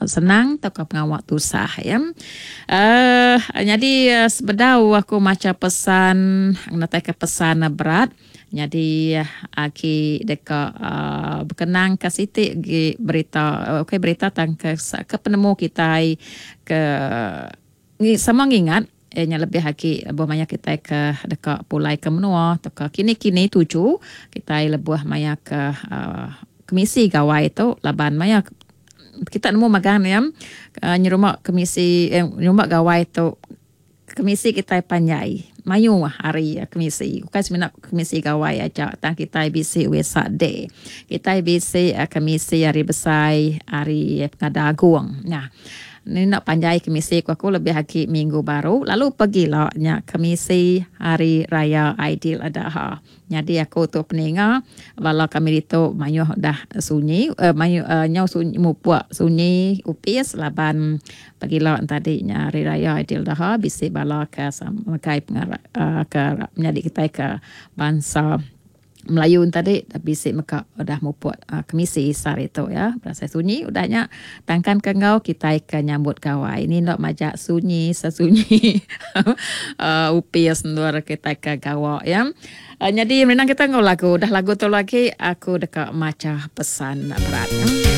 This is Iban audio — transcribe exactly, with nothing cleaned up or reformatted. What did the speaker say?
senang tauka pengawa tusah ya. Uh, nyadi sebedau aku macha pesan ngenatai ke pesan berat, nyadi agi deka uh, berkenang ke siti gi berita, okey berita tang ke, ke penemu kita ke sama ngingat eh nya lebih agi lebuh maya kita ke deka pulai ke menua atau ke kini-kini tuju kita lebuh maya ke uh, kemisi gawai tu, laban maya kita nemu magang ya uh, nyerumah kemisi eh, nyerumah gawai tu kemisi kita panjai mayu hari kemisi, bukan semina kemisi gawai aja tang kita bisi Wesak Day, kita bisi uh, kemisi hari besai hari pengada agung. Nah, ni nak panjai kemisi ku aku lebih agi minggu baru lalu pergilah nya kemisi hari raya Aidil Adha. Jadi aku tu peninga bala kami ditu mayuh dah sunyi uh, mayuh uh, nyau sunyi mupuk sunyi upis laban pagila tadi nya hari raya Aidil Adha bisi bala ke makai pengarap uh, ke menyadi kita ke bangsa Melayu tadi bisi meka udah mupuk uh, kemisi sehari tu ya. Berasa sunyi udahnya tangkan ke ngau kita ke nyambut gawai. Ini nak majak sunyi sesunyi uh, upis ndur kita ke gawa ya. Uh, jadi menang kita ngau lagu. Dah lagu tu lagi aku dekat maca pesan berat. Ya.